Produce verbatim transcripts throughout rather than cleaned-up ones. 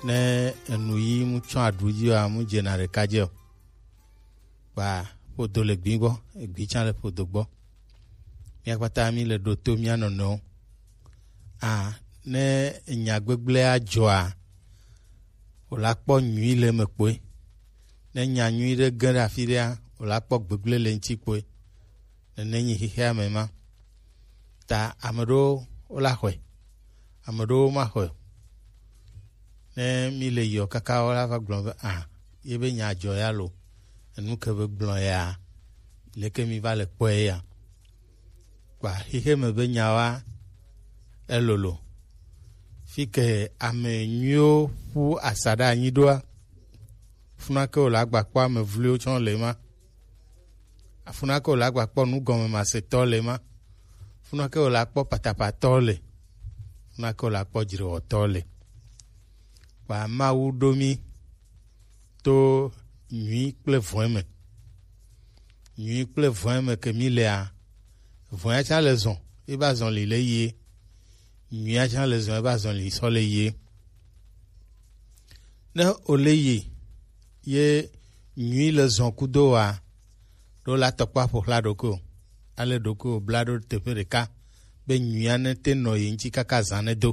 Ne enu yi mu tsɔ aɖu dzi wa, mu dzena ɖeka dze o. Kpa ƒodo le gbi gbɔ, egbi tsã le ƒodo gbɔ. Mía kpata mí le ɖo to mía nɔnɔewo. A, ne enya gbegblẽa dzɔa, wòla kpɔ nyui le eme kpoe. Ne nya nyui ɖe ge ɖe afi ɖea, wòla kpɔ gbegblẽ le eŋuti kpoe. Nene nyi xexea me ma. Ta ame ɖewo wola xɔe, ame ɖewo ma xɔe o. Ne mi le yiɔ kaka wola va gblɔ be, a, ye be nya dzɔ ya lo, enu ke be gblɔ ya, leke mi va le kpɔe ya? Kpa xexe me be nyawoa, elolo. Fi ke ame nyuiwo ƒu asaɖa anyi ɖoa, funa ke wòle agba kpɔ ame vloewo tsɔ le ma. Funa ke wòle agba kpɔ nugɔmemasetɔ le ma. Funa ke wòle akpɔ patapatɔ le. Funa ke wòle akpɔ dzrewɔtɔ le. Kpa Mawu ɖo mi to nyui kple vɔ̃e me. Nyui kple vɔ̃e me ke mi lea, vɔ̃ea tsã le zɔn, eba zɔn li le yie. Nyuia tsã le zɔn, eba zɔn li sɔ le yie. Ne o le yi ye nyui le zɔn kudo wa, ɖo la tɔkpɔ aƒo xla ɖokuiwò, ale ɖokuiwò bla ɖo teƒe ɖeka, be nyuia ne te nɔ yi ŋuti kaka zã ne do.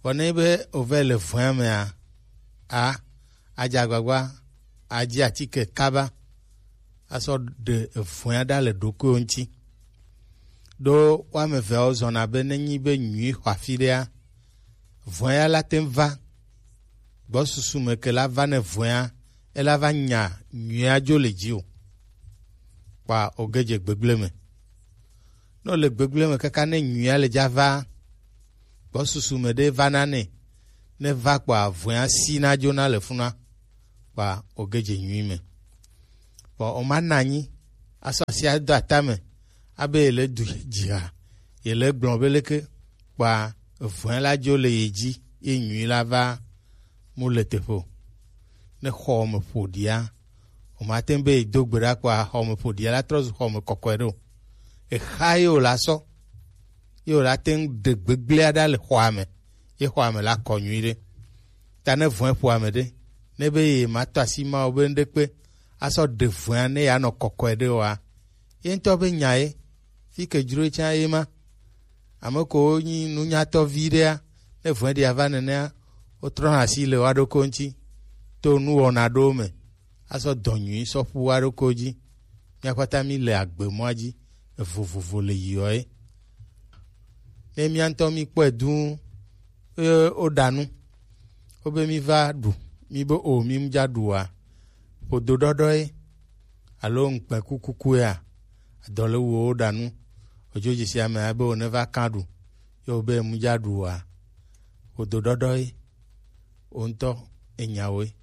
Vɔ ne be o vɛ le vɔ̃a mea, a, adze agbagba, adzi atike kaba, asɔ ɖe evɔ̃a ɖa le ɖokuiwò ŋuti. Ɖo woame eveawo zɔna be nenyi be nyui xɔ afi ɖea, vɔ̃a la te ŋu va. Gbɔsusu me ke la va ne vɔ̃a, ela va nya nyuia dzo le dzi o. Kpa o ge dze gbegblẽ me. Ne o le gbegblẽ me kaka ne nyuia le dza va, gbɔsusu me ɖe va na ne, ne va kpa vɔ̃a si na dzo na le funa. Kpa o ge dze nyui me. Kpa o ma na anyi, asɔ asi ado atame, abe ye le du dzia, ye le gblɔ be leke, kpa vɔ̃e la dzo le ye dzi, ye nyui la va mu le teƒe o. Ne xɔ me ƒo ɖia, o ma te ŋu be ye do gbe ɖa kpa xɔ me ƒo ɖia la trɔ zu xɔ me kɔkɔe ɖo. Exa ye o la sɔ, ye o la te ŋu ɖe gbegblẽa ɖa le xɔa me, ye xɔa me la kɔ nyui ɖe. Ta ne vɔ̃e ƒo ame ɖe, ne be ye ma tɔ asi ma o be ŋɖe kpe, asɔ ɖe vɔ̃a ne ya nɔ kɔkɔe ɖe oa, ye ŋutɔ be nya ye, fi ke dzro tsã ye ma. Ame kowo nyi nunyatɔ vi ɖea, ne vɔ̃ɖia va nenea, wotrɔna asi le woa ɖokui ŋuti to nuwɔna ɖewo me, asɔ dɔ nyui sɔ ƒu woa ɖokuiwo dzi. Mía kpata mí le agbe mɔa dzi, evo vovo le yiɔ ye. Ne mía ŋutɔ mí kpɔe dũ, eye woɖa nu, wobe mí va ɖu, mí be o, mí mu dza ɖu oa, ƒodo ɖɔɖɔ ye, alo ŋukpɛ kukuku yea, adɔ le wu woɖa nu, odzo dzesi ame abe wone va kã ɖu, ye wobe mu dza ɖu oa, ƒodo ɖɔɖɔ ye, wo ŋutɔ enyawoe.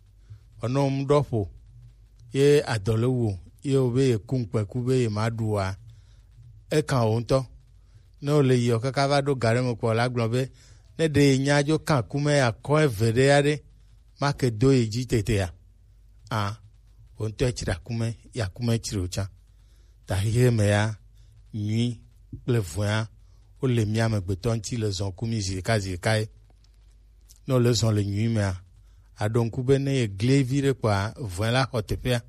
Ɔnɔ mu ɖɔ ƒo, ye adɔ le wu, ye wobe ye ku ŋukpɛ ku be ye ma ɖu oa, ekã wo ŋutɔ. Ne wole yiɔ kaka va ɖo ga ɖe me kpɔ la gblɔ be, ne ɖe ye nya dzo kã ku me ya kɔ eve ɖe ya ɖe, ma ke do ye dzi tetea? A, wo ŋutɔ etsra ku me, ya ku me tsri o tsã. Ta xexe me ya, nyui kple vɔ̃a, wole mía amegbetɔ ŋuti le zɔn ku mí zi ɖeka zi ɖeka ye. Ne wole zɔn le nyui mea, aɖo ŋku be ne ye gli vi ɖe kpɔa, vɔ̃e la xɔ teƒea.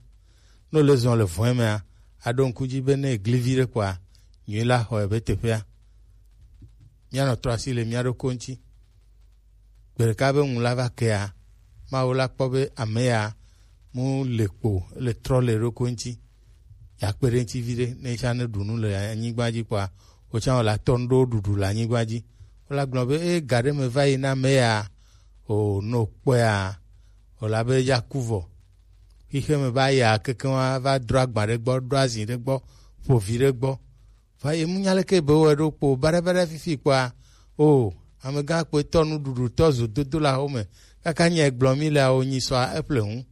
Ne wole zɔn le vɔ̃e mea, aɖo ŋku dzi be ne ye gli vi ɖe kpɔa, nyui la xɔ ebe teƒea. Míanɔ trɔ asi le mía ɖokui ŋuti. Gbe ɖeka be ŋu la va kea, Mawu la kpɔ be ame ya mu le kpo, le trɔ le eɖokui ŋuti. Ya kpe ɖe ŋuti viɖe, ne etsã ne ɖu nu le anyigba dzi kpɔa, wotsã wòle atɔ nu ɖo ɖuɖu le anyigba dzi. Wola gblɔ be, e, ga ɖe me va yi na ame ya, o, no kpɔea, wòle abe ya ku vɔ. Xixe me va ya kekeŋ wa va drɔ agba ɖe gbɔ, ɖo azi ɖe gbɔ, ƒo vi ɖe gbɔ. Va ye mu nya leke be wɔe ɖo kpo, baɖabaɖa fifi kpɔa, o, amegã kpɔetɔ nuɖuɖutɔ zo dodo le axome, kaka nya gblɔ mi le awo nyi sɔa eƒle ŋu.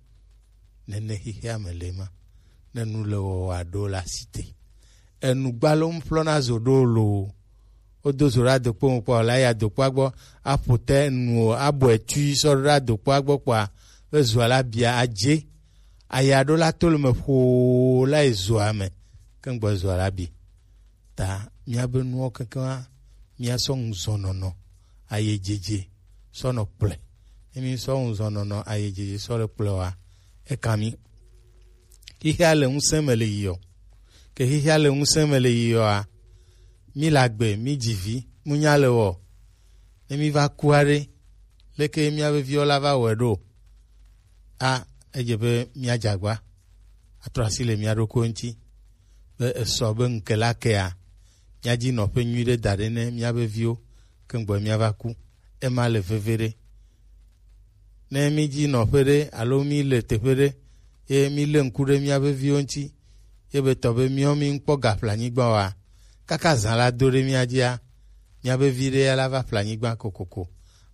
Nene xexea me le ma. Ne nu le wɔwɔa ɖo le asi te. Enu gbalo ŋu ƒlɔna zo ɖo loo. Wodo zo ɖe adokpo me kpɔa, wòle ayi adokpoa gbɔ, aƒo te nu o, abɔe tui sɔ ɖo ɖe adokpoa gbɔ kpɔa, ezoa la bia adze. Aya ɖo la to le me ƒoo la yi zoa me, ke ŋgbɔ zoa la bi. Ta míabe nuwo kekeŋa, míasɔ ŋuzɔnɔnɔ, ayedzedze, sɔ nɔ kplɔe. Ne mi sɔ ŋuzɔn nɔnɔ ayi dzi sɔ le kplɔ wa, e kan mi. Xixia le ŋusẽ me le yiɔ. Ke xixia le ŋusẽ me le yiɔ a, mi le agbe, mi dzi vi, mu nya le wɔ. Ne mi va ku aɖe, leke mía be viwo la va wɔe ɖo? A, edze be mía dze agba, atrɔ asi le mía ɖokuiwo ŋuti, be esɔ be ŋke la kea, mía dzi nɔƒe nyui ɖe da ɖe ne mía be viwo, ke ŋgbɔ mía va ku. Ema le veve ɖe. Ne mí dzi nɔƒe ɖe alo mí le teƒe ɖe, ye mí lé ŋku ɖe mía be viwo ŋuti, ye be tɔ be míawo mí ŋkpɔ gaƒle anyigba oa, kaka zã la do ɖe mía dzia, mía be vi ɖe ya la va ƒle anyigba kokoko,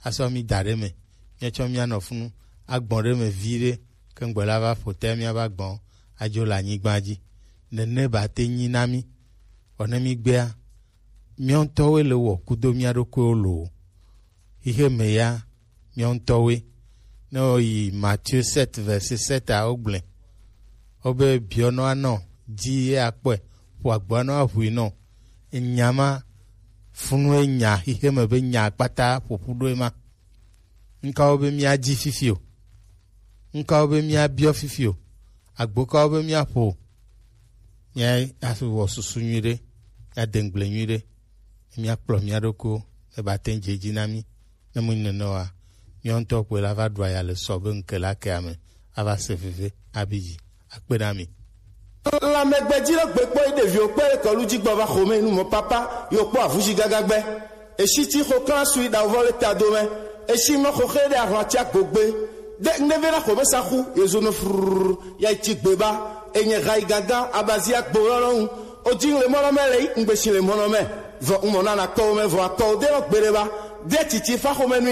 asɔ mí da ɖe me, míatsɔ mía nɔ funu agbɔn ɖe me vi ɖe, ke ŋgbe la va ƒo te mía va gbɔn adzo le anyigba dzi. Nene ba te nyi na mí. Vɔ ne mí gbea, míawo ŋutɔwoe le wɔ kudo mía ɖokuiwo loo. Xixe me ya, míawo ŋutɔwoe. Ne wò yi Matthieu sept, verset sept a, wogblẽ. Wobe biɔ nɔ anɔ, dzi ye akpɔe, ƒo agboa nɔ aʋui nɔ. Enya ma, funu enya, xixe me be nya kpata ƒoƒu ɖo ema. Ŋkawo be míadzi fifi o? Ŋkawo be míabiɔ fifi o? Agbo kawo be míaƒo o? Míawɔ susu nyui ɖe, míade ŋugble nyui ɖe, míakplɔ mía ɖokuiwo, ne ba te ŋu dze edzi na mí. Ne mu nene oa, míawo ŋutɔ kpoe la va ɖu aya le sɔ be ŋke la kea me, ava se veve, abi dzi, akpe na mi. Lãmɛgbedzi ɖe gbe kpɔ yi ɖeviwo kpe ɖe kɔlu dzi gbɔ va xɔme nu mɔ papa yo kpɔ avuzi gaga gbe. Esi ti xɔ kla sui ɖa vɔ le ta do me. Esi mɔ xɔ xe ɖe ahlɔ ti agogbe. De ŋdeve na xɔme sa xu yezo no frrrr ya ti gbe ba. Enye ha yi gaga abazi agbo lɔ lɔ ŋu. O dzi le mɔnɔ me le yi ŋgbesi le mɔnɔ me. Vɔ ŋmɔ na na kpɔ me vɔ akpɔ de lɔ gbe ɖe ba. De titi fa xɔme nu